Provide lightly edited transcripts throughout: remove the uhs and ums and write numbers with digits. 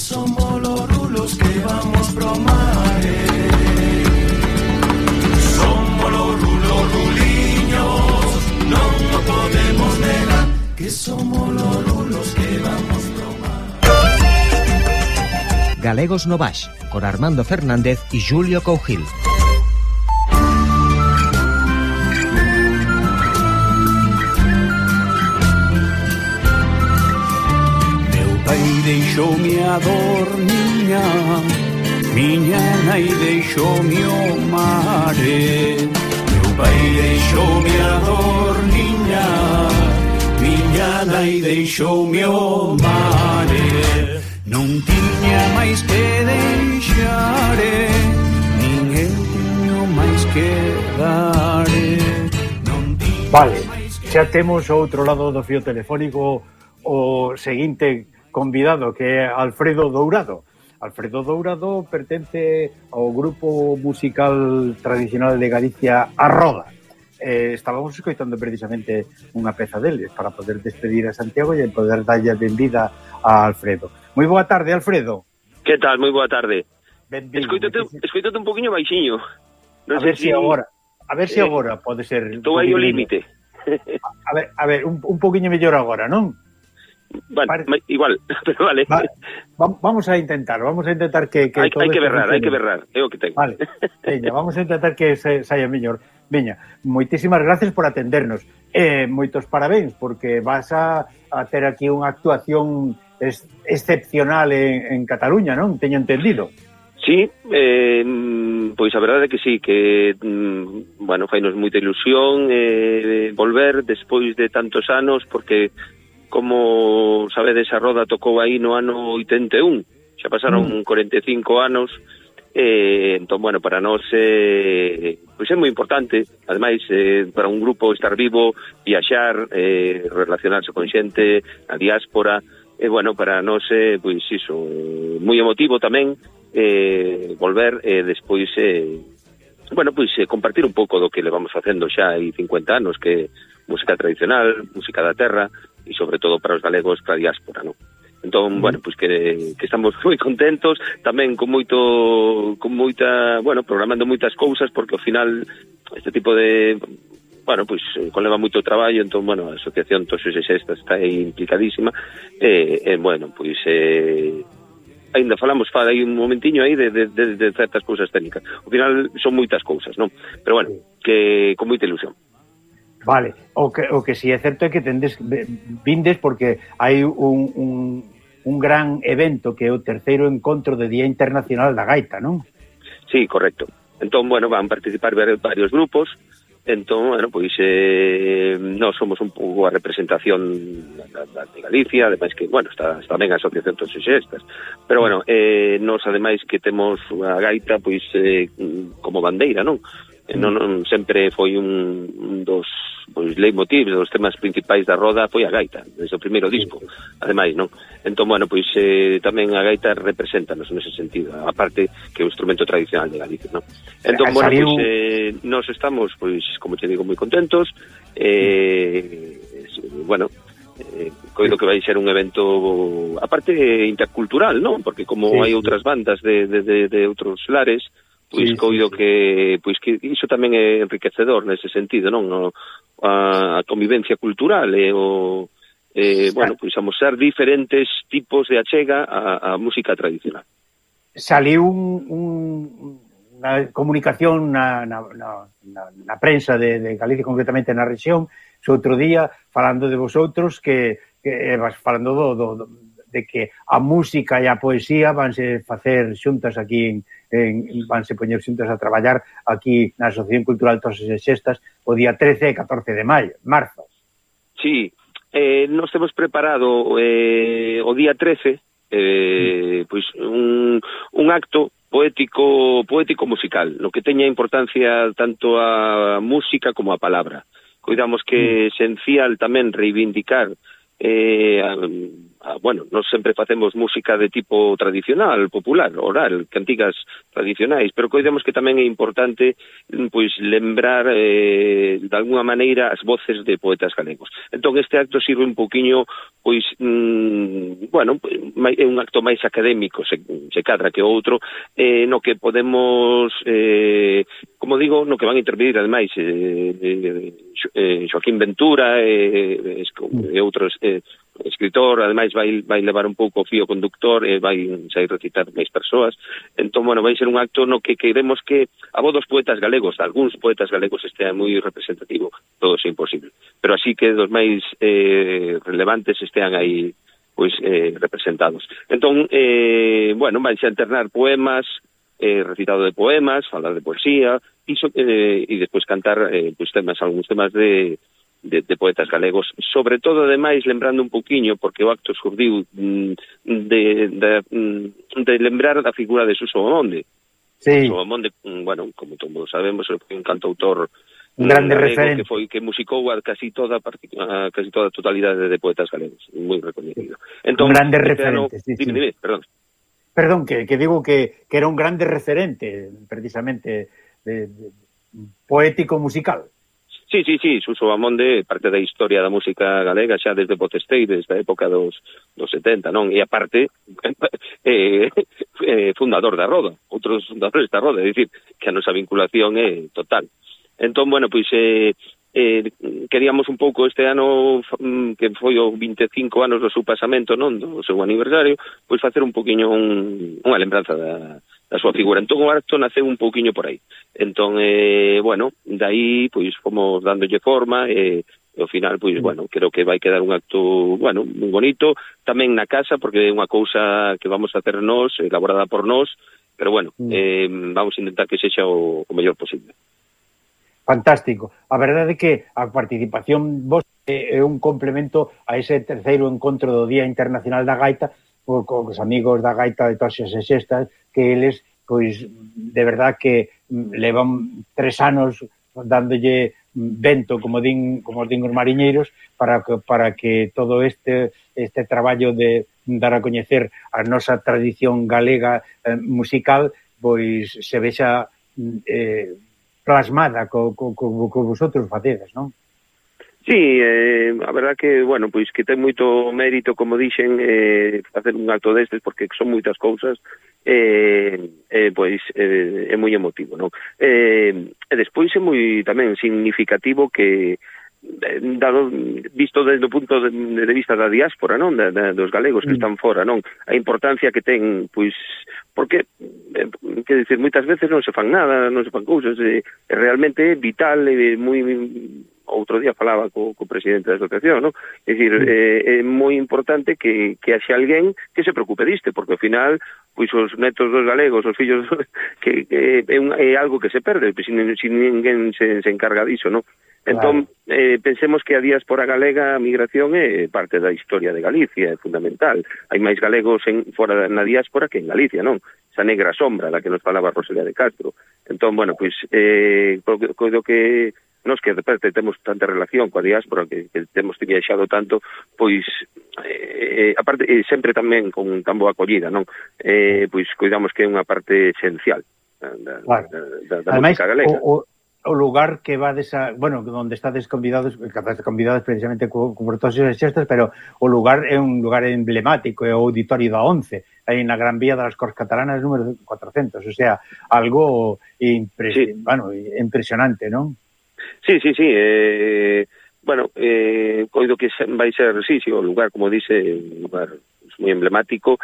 somos los rulos que vamos pro mare. Somos los rulos ruliños, non o podemos negar, que somos los rulos que vamos pro mare. Galegos no Baix, con Armando Fernández y Julio Cougil. Deixoume a dor, miña nai deixoume o mare. Meu pai deixoume a dor, miña nai deixoume o mare. Non tiña máis que deixare, nin eu tiño máis que dare. Vale, xa temos ao outro lado do fío telefónico o seguinte convidado, que é Alfredo Dourado. Alfredo Dourado pertence ao grupo musical tradicional de Galicia, A Roda. Estábamos escoitando precisamente unha peza deles para poder despedir a Santiago e poder darlle a benvida a Alfredo. Moi boa tarde, Alfredo. Que tal? Moi boa tarde. Benvido. Escoitate un poquinho baixiño. Non a ver se agora pode ser. Estou aí o límite. A ver, un poquinho mellor agora, non? Bueno, igual, pero vale. Vamos a intentar que hai que berrar, é o que tengo. Vale, veña, vamos a intentar que saia mellor. Veña, moitísimas gracias por atendernos. Moitos parabéns, porque vas a ter aquí unha actuación excepcional en Cataluña, non? Teño entendido. Sí, pois a verdade é que sí, que, bueno, fainos moita ilusión volver despois de tantos anos, porque como sabedes, a Roda tocou aí no ano 81, xa pasaron 45 anos, entón, bueno, para nós pois é moi importante, ademais, para un grupo estar vivo, viaxar, relacionarse con xente, a diáspora, bueno, para nós, pois iso, moi emotivo tamén, volver despois, bueno, pois compartir un pouco do que levamos facendo xa hai 50 anos, que música tradicional, música da terra, e sobre todo para os galegos, para a diáspora, non? Entón, bueno, pois que estamos moi contentos, tamén con moita, bueno, programando moitas cousas, porque ao final este tipo de, bueno, pois conleva moito traballo, entón, bueno, a Asociación Toses e Sextas está aí implicadísima, bueno, pois ainda falamos aí un momentiño aí de certas cousas técnicas. Ao final son moitas cousas, non? Pero bueno, que con moita ilusión. Vale, o que si é certo é que vindes porque hai un gran evento que é o terceiro encontro de Día Internacional da Gaita, non? Sí, correcto. Entón, bueno, van participar varios grupos, entón, bueno, pois nós somos un pouco a representación de Galicia, ademais que, bueno, está ben a Asociación Toses e Sextas, pero bueno, nós ademais que temos a gaita, pois, como bandeira, non? Non sempre foi un dos leitmotivs, dos temas principais da Roda foi a gaita, desde o primeiro disco, ademais, non? Entón, bueno, pois tamén a gaita representanos nese sentido, aparte que é un instrumento tradicional de Galicia, non? Entón, bueno, pois nós estamos, pois, como te digo, moi contentos, bueno, coido que vai ser un evento aparte intercultural, non? Porque como hai outras bandas de outros lares, pois coido que iso tamén é enriquecedor nese sentido, non? A convivencia cultural bueno, pois amosar diferentes tipos de achega a música tradicional. Saliu unha comunicación na prensa de Galicia, concretamente na rexión, outro día, falando de vosotros, que falando de que a música e a poesía vanse facer xuntas aquí vanse poñer xuntas a traballar aquí na Asociación Cultural Toses e Sextas o día 13 e 14 de marzo. Sí, nos temos preparado o día 13 pois un acto poético musical, no que teña importancia tanto a música como a palabra. Coidamos que é esencial tamén reivindicar bueno, nós sempre facemos música de tipo tradicional, popular, oral, cantigas tradicionais, pero coidemos que tamén é importante pois lembrar de alguna maneira as voces de poetas galegos. Entón este acto sirve un poquinho pois bueno, é un acto máis académico, se cadra que outro, no que podemos como digo, no que van a intervenir ademais Joaquín Ventura e outros escritor, ademais vai levar un pouco o fío conductor e vai sair recitar máis persoas. Entón, bueno, vai ser un acto no que queremos que a voz dos poetas galegos, algúns poetas galegos estea moi representativo, todo é imposible, pero así que dos máis relevantes estean aí pois representados. Entón, bueno, vai a alternar poemas, recitado de poemas, falar de poesía e despois cantar pois algúns temas de poetas galegos, sobre todo ademais lembrando un pouquiño, porque o acto surdiu de lembrar da figura de Suso Amonde. Sí. Suso Amonde, bueno, como todos sabemos, foi un cantautor un grande referente que musicou a casi toda a totalidade de poetas galegos, moi recoñecido. Entón, un grande referente, sí. Dime, perdón. Perdón, que digo que era un grande referente, precisamente, poético musical. Sí, Suso Amonde, parte da historia da música galega xa desde Potestei, desde a época dos 70, non? E aparte, fundador da Roda, outros fundadores da Roda, é dicir, que a nosa vinculación é total. Entón, bueno, pois queríamos un pouco este ano, que foi o 25 anos do seu pasamento, non? Do seu aniversario, pois facer un poquinho unha lembranza da súa figura. Entón o acto naceu un pouquiño por aí. Entón, bueno, dai, pois, fomos dándolle forma e ao final, pois, bueno, creo que vai quedar un acto, bueno, moi bonito, tamén na casa, porque é unha cousa que vamos a hacer nós, elaborada por nós, pero bueno, vamos a intentar que sexa o mellor posible. Fantástico. A verdade é que a participación vos é un complemento a ese terceiro encontro do Día Internacional da Gaita, cos amigos da gaita de Toxas e Xestas, que eles, pois, de verdad que levan 3 anos dándolle vento, como din os mariñeiros, para que todo este traballo de dar a coñecer a nosa tradición galega musical, pois, se vexa plasmada co vosotros facedes, non? Sí, a verdad que, bueno, pois que ten moito mérito, como dixen, facer un acto destes, porque son moitas cousas, pois é moi emotivo, non? E despois é moi tamén significativo que, visto desde o punto de vista da diáspora, non? Dos galegos que están fora, non? A importancia que ten, pois, porque, que dicir, moitas veces non se fan nada, non se fan cousas, realmente é vital, moi... Outro día falaba co presidente da asociación, non? É dicir, é moi importante que haxe alguén que se preocupe disto, porque ao final, pois os netos dos galegos, os fillos, que é algo que se perde, se ninguén se encarga diso, non? Entón, pensemos que a diáspora galega, a migración é parte da historia de Galicia, é fundamental. Hai máis galegos fora na diáspora que en Galicia, non? Esa negra sombra da que nos falaba Rosalía de Castro. Entón, bueno, pois, coido que nos que de parte temos tanta relación coa diáspora, que temos viaxado tanto, pois, aparte, sempre tamén con tan boa acollida, non? Pois, cuidamos que é unha parte esencial da música galega. O lugar que vades onde estades convidados precisamente con Toxas e Xestas, pero o lugar é un lugar emblemático, é o Auditorio da Once, aí na Gran Vía das Corts Catalanas número 400, o sea, algo impresionante, non? Sí. Bueno, coido que vai ser, o lugar, como dice, un lugar moi emblemático,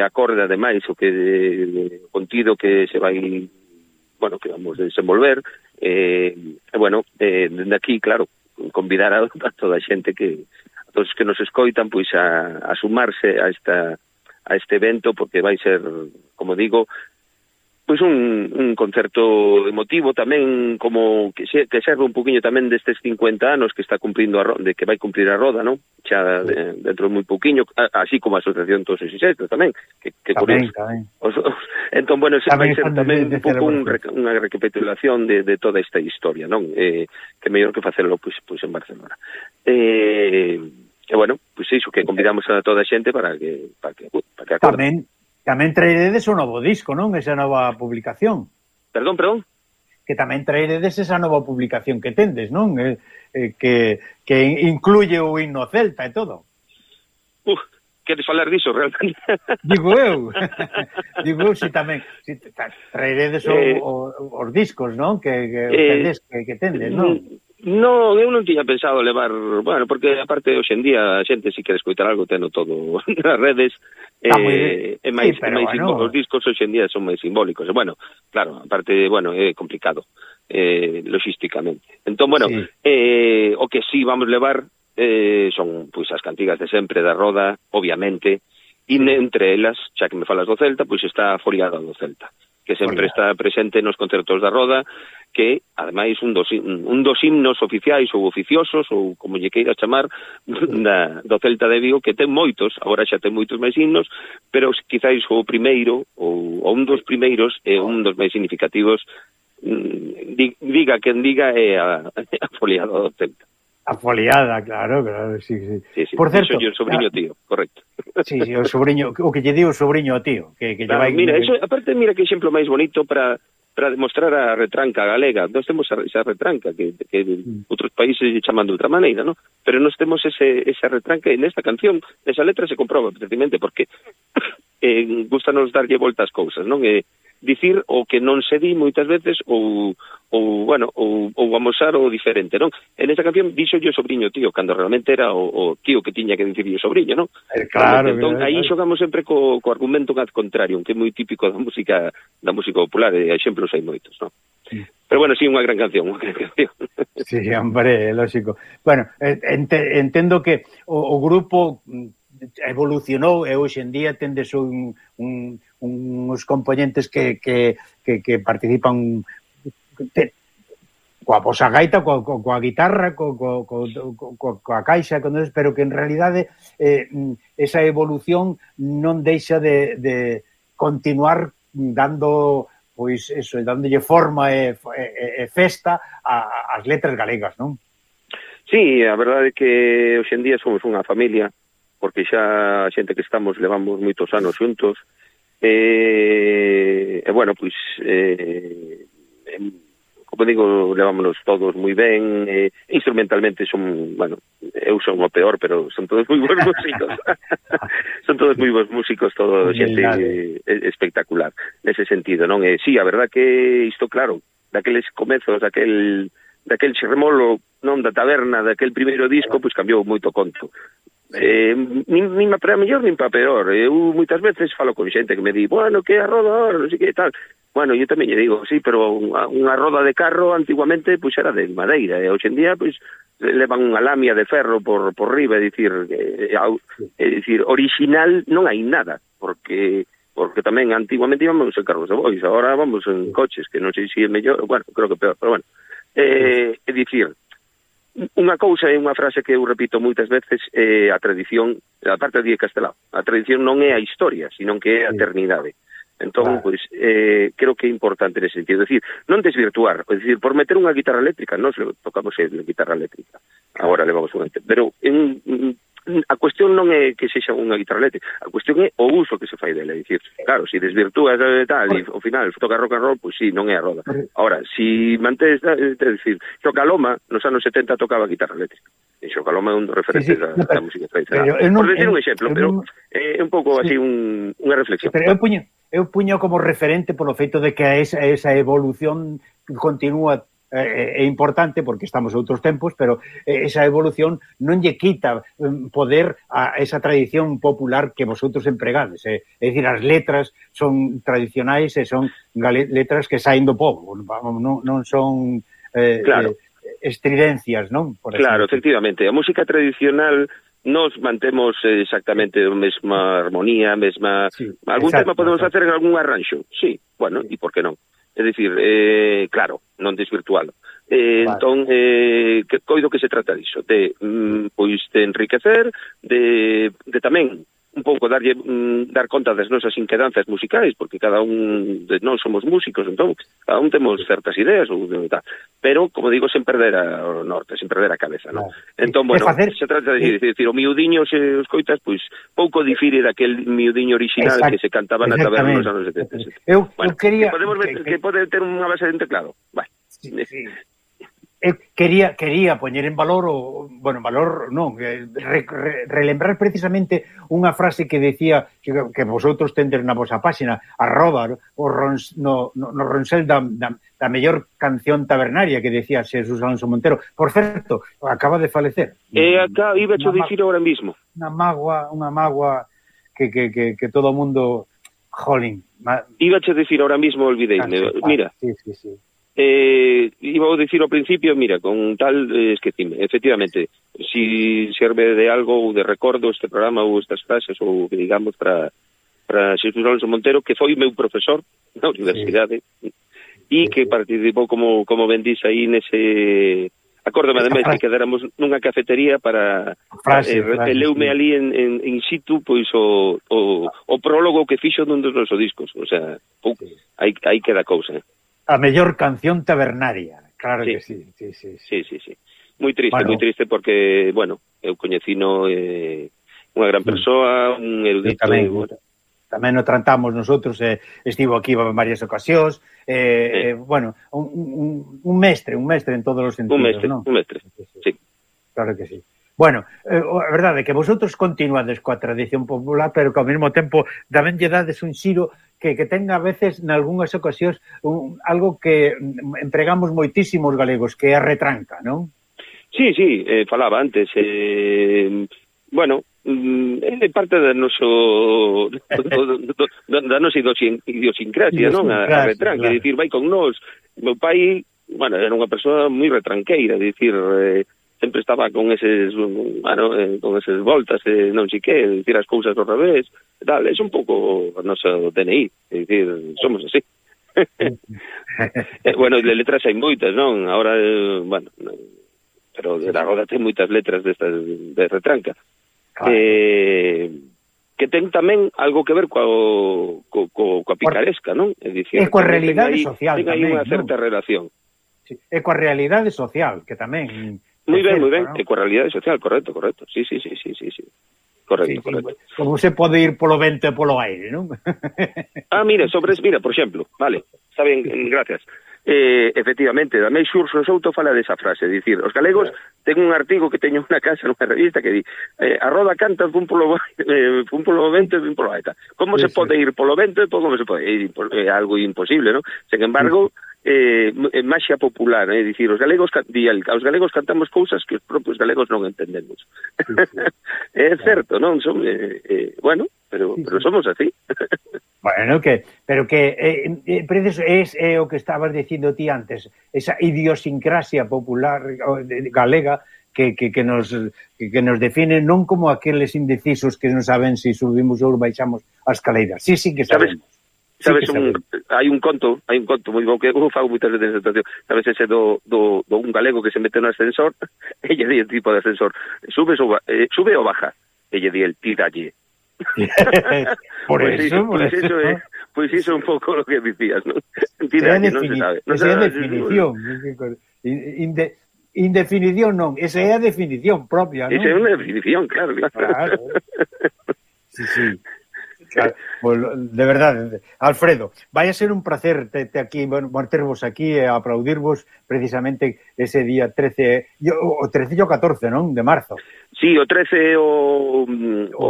acorde ademais o que contido que se vai, bueno, que vamos a desenvolver, bueno, dende aquí, claro, convidar a toda a xente a todos que nos escoitan, pois a sumarse a este evento, porque vai ser, como digo, pois un concerto emotivo tamén, como que serve un poquinho tamén destes 50 anos que está cumprindo que vai cumprir a Roda, non? Xa dentro de moi poquinho, así como a Asociación Toxas e Xestas tamén, que curioso. Entón, bueno, vai ser tamén un pouco unha recapitulación de toda esta historia, non? Que mellor que facelo pois en Barcelona. bueno, pois iso, que convidamos a toda a xente para que acorde. Tamén traeredes o novo disco, non? Esa nova publicación. Perdón? Que tamén traeredes esa nova publicación que tendes, non? Que incluye o himno celta e todo. Queres falar diso, realmente? Digo eu, si tamén traeredes os discos, non? Que tendes, non? Non, eu non tiña pensado levar, bueno, porque aparte hoxe en día a xente si quere escoitar algo teno todo nas redes, máis os discos hoxe en día son máis simbólicos, e bueno, claro, aparte, bueno, é complicado logísticamente. Entón, bueno, o que sí vamos levar son pois as cantigas de sempre da Roda, obviamente, e entre elas, xa que me falas do Celta, pois está a Foliada do Celta, que sempre está presente nos concertos da Roda, que, ademais, un dos himnos oficiais ou oficiosos, ou como lle queiras chamar, do Celta de Vigo, que ten moitos, agora xa ten moitos máis himnos, pero quizáis o primeiro, ou un dos primeiros, é un dos máis significativos, diga quen diga, é a Foliada do Celta. A Foliada, claro, sí. Por certo, o sobriño tío, correcto. Sí, o sobriño, o que lle di o sobriño tío, que claro, mira, eso, aparte, mira que exemplo máis bonito para demostrar a retranca galega. Nós temos esa retranca que outros países chaman de outra maneira, ¿no? Pero nós temos esa retranca e nesta canción, esa letra se comproba precisamente porque gustanos darlle voltas cousas, non? Dicir o que non se di moitas veces ou amosar o diferente, non? En esta canción dixo yo sobriño tío, cando realmente era o tío que tiña que dicirlle sobriño, non? Claro. Entón, aí xogamos sempre co argumento ad contrario, que é moi típico da música popular, e exemplos hai moitos, non? Pero bueno, sí, unha gran canción. Sí, hombre, lógico. Bueno, entendo que o grupo evolucionou e hoxe en día tendes uns componentes que participan coa vosa gaita, coa guitarra, coa caixa, pero que en realidade esa evolución non deixa de continuar dando, pois eso, dándolle forma e festa ás letras galegas, non? Sí, a verdade é que hoxe en día somos unha familia, porque xa a xente que estamos levamos moitos anos xuntos, e bueno, pois como digo, levámonos todos moi ben, instrumentalmente son, bueno, eu son o peor, pero son todos moi bons músicos. Son todos moi bons músicos, todo xente espectacular nese sentido, non? Sí, a verdad que isto, claro, daqueles comezos, daquel xerremolo, non, da taberna, daquel primeiro disco, pois cambiou moito conto. Nin para mellor nin para peor. Eu moitas veces falo con xente que me di, bueno, que a roda, non sei que tal. Bueno, eu tamén lle digo, sí, pero unha roda de carro antiguamente pois era de madeira, e hoxe en día pois levan unha lamia de ferro por riba, é dicir, original non hai nada, porque tamén antiguamente íbamos en carros de bois, agora vamos en coches, que non sei se é mellor, bueno, creo que peor, pero bueno. É dicir, unha cousa é unha frase que eu repito moitas veces, a tradición, a parte de Castelao, a tradición non é a historia, sino que é a eternidade. Entón, pois, creo que é importante nese sentido. É dicir, non desvirtuar, é dicir, por meter unha guitarra eléctrica, nós tocamos a guitarra eléctrica, agora levamos unha, pero a cuestión non é que sexa unha guitarra eléctrica, a cuestión é o uso que se fai dela, é dicir, claro, se desvirtúas tal, e ao final toca rock and roll, pois sí, non é a roda. Ahora, se mantes, é dicir, Xocaloma nos anos 70 tocaba guitarra eléctrica, e Xocaloma é un dos referentes da música tradicional. Por decir un exemplo, pero é un pouco así unha reflexión. Pero eu puño como referente polo feito de que esa evolución continúa, é importante porque estamos outros tempos, pero esa evolución non lle quita poder a esa tradición popular que vosotros empregades. É dicir, as letras son tradicionais e son letras que saen do povo, non son estridencias, non? Claro, efectivamente. A música tradicional nos mantemos exactamente a mesma armonía, mesma... Sí, algún tema podemos facer en algún arranxo, sí, bueno, e por que non? É dicir, claro, non desvirtualo. Entón, coido que se trata diso, de enriquecer, de tamén un pouco dar conta das nosas inquedanzas musicais, porque cada un de nós somos músicos, entón cada un temos certas ideas ou tal, pero como digo, sen perder o norte, sen perder a cabeza, non? Entón, bueno, se trata de dicir, o miudiño se os coitas, pois pouco difire daquel miudiño original que se cantaba na taberna nos anos 70. Eu quería podemos ver que pode ter unha base de teclado. Vai. Sí. Eu quería poñer en valor relembrar precisamente unha frase que decía que vosotros tendes na vosa páxina, no Ronsel da mellor canción tabernaria que decía Xesús Alonso Montero. Por certo, acaba de falecer. Acá iba a dicir ahora mismo. Unha mágoa que todo o mundo jolín. Iba a dicir ahora mismo, olvideime. Mira. Sí. Iba a decir ao principio, mira, con tal esquecime, efectivamente, si serve de algo ou de recordo este programa ou estas frases ou, digamos, para Xesús Alonso Montero, que foi meu profesor na universidade e que participou, como ben dís aí, nese... Acórdame ademais que quedáramos nunha cafetería para leume ali in situ pois o prólogo que fixo dun dos nosos discos, o sea, aí queda cousa. A mellor canción tabernaria, claro que sí. Sí. Moi triste porque, bueno, eu coñecino unha gran persoa, un erudito. Tamén o tratamos nosotros, estivo aquí en varias ocasións, bueno, un mestre en todos os sentidos, non? Un mestre, sí. Claro que sí. Bueno, a verdade é que vosotros continuades coa tradición popular, pero que ao mesmo tempo tamén lle dades un xiro que ten a veces, nalgúnas ocasións, algo que empregamos moitísimos galegos, que é a retranca, non? Sí, falaba antes. Bueno, é parte da nosa idiosincrasia, non? A retranca, é dicir, vai con nós. Meu pai, bueno, era unha persoa moi retranqueira, é dicir... sempre estaba con eses voltas, non sei que, dicir as cousas ao revés, tal, é un pouco o noso DNI, é dicir, somos así. Bueno, de letras hai moitas, non? Ahora, bueno, pero agora ten moitas letras destas de retranca. Que ten tamén algo que ver coa picaresca, non? É dicir, coa realidade social tamén. Ten aí unha certa relación. É coa realidade social, que tamén... Moi ben, e coa realidade social, correcto. Sí. Correcto. Como se pode ir polo vento e polo aire, non? Mira, por exemplo, vale, está ben, gracias. Efectivamente, Damei Xurxo Souto fala desa frase, dicir, os galegos ten un artigo que teño unha casa nunha revista que di a roda canta fun polo vento e fun polo aire. Como se pode ir polo vento e como se pode ir? É algo imposible, non? Sen embargo, maxia popular, é dicir, os galegos cantamos cousas que os propios galegos non entendemos. É certo, non? Bueno, pero somos así. Bueno, pero é o que estabas dicindo ti antes, esa idiosincrasia popular galega que nos define non como aqueles indecisos que non saben se subimos ou baixamos as escaleiras. Sí que sabemos. Sabes, hai un conto moi bo que eu fago moitas veces en situación. Sabes ese do un galego que se mete no ascensor e lle di el tipo de ascensor, sube ou baja, e lle di el tiralle. Pois iso é un pouco lo que dicías, ¿no? Tiralle, non se sabe. Esa é a definición. Indefinición non, esa é a definición propia, non? Esa é unha definición, claro. Sí. Claro, de verdade, Alfredo, vai a ser un placer aquí, tervos aquí e aplaudirvos precisamente ese día 13 e o 14, non? De marzo. Sí, o 13 o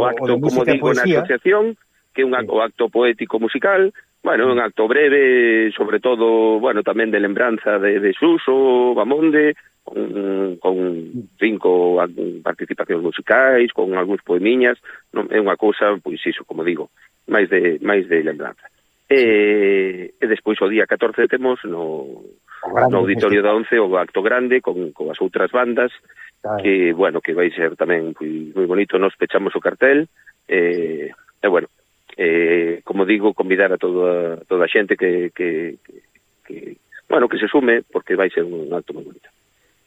acto, como digo, na asociación, que é o acto poético musical, bueno, un acto breve, sobre todo, bueno, tamén de lembranza de Suso, Bamonde, con 5 participacións musicais, con algúns poemiñas, non é unha cousa, pois iso, como digo, máis de lembranza. E despois o día 14 temos no Auditorio da 11 o acto grande con as outras bandas, que, bueno, que vai ser tamén moi bonito. Nos pechamos o cartel e bueno, como digo, convidar a toda a xente que bueno, que se sume, porque vai ser un acto moi bonito.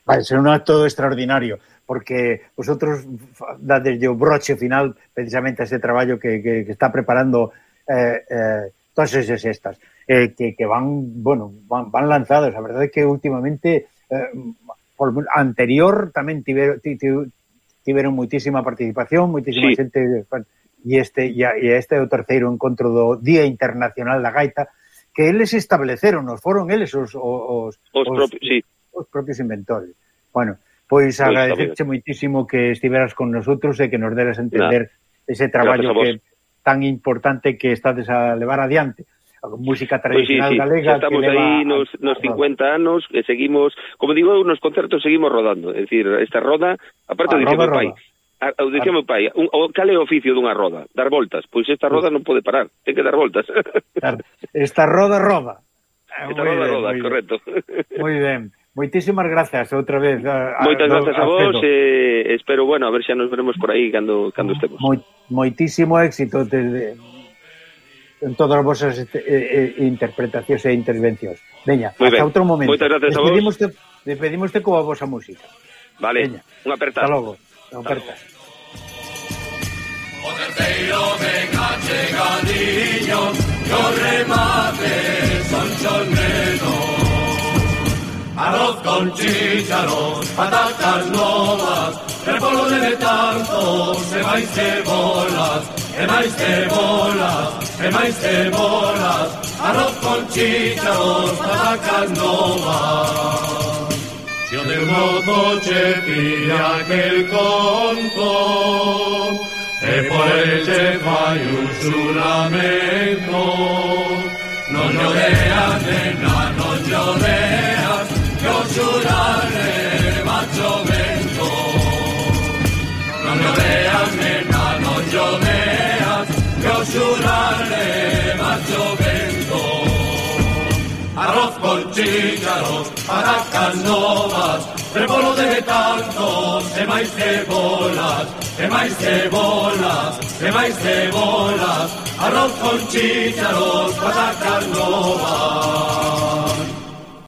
Vai ser un acto extraordinario, porque vosotros dadeslle o broche final precisamente a ese traballo que está preparando todas esas estas, que van lanzados. A verdade é que últimamente anterior tamén tiveron moitísima participación, moitísima xente, e este é o terceiro encontro do Día Internacional da Gaita, que eles estableceron, foron eles os propios inventores. Bueno, pois agradecerche moitísimo que estiveras con nosotros e que nos deras a entender ese traballo que tan importante que estades a levar adiante. A música tradicional galega. Estamos aí nos 50 anos e seguimos, como digo, nos concertos seguimos rodando. É dicir, esta roda, aparte de meu pai, cal é o oficio dunha roda? Dar voltas. Pois esta roda non pode parar, ten que dar voltas. Esta roda roda. Esta roda, correcto. Moi ben. Moitísimas grazas outra vez. Moitas grazas a vos e espero, a ver xa nos veremos por aí cando estemos. Moitísimo éxito en todas as vosas interpretacións e intervencións. Veña, hasta outro momento. Moitas grazas a vos. Despedímoste coa vosa música. Vale, unha aperta. Hasta logo. Aperta. O terceiro venga chegadiño, que o remate son chornenos. Arroz con chícharos, patatas novas, repolo de tanto, e máis cebolas, e máis cebolas, e máis cebolas. Arroz con chícharos, patatas novas. Si o del mozo che pilla aquel conto, e por el che fai un xuramento. Non lloreas, nena, non lloreas, que o xurare macho vento. Non lloreas, nena, non lloreas, que o xurare macho vento. Arroz con chícharos, patacas novas, repolo de tantos, e máis cebolas, e máis cebolas, e máis cebolas. Arroz con chícharos, patacas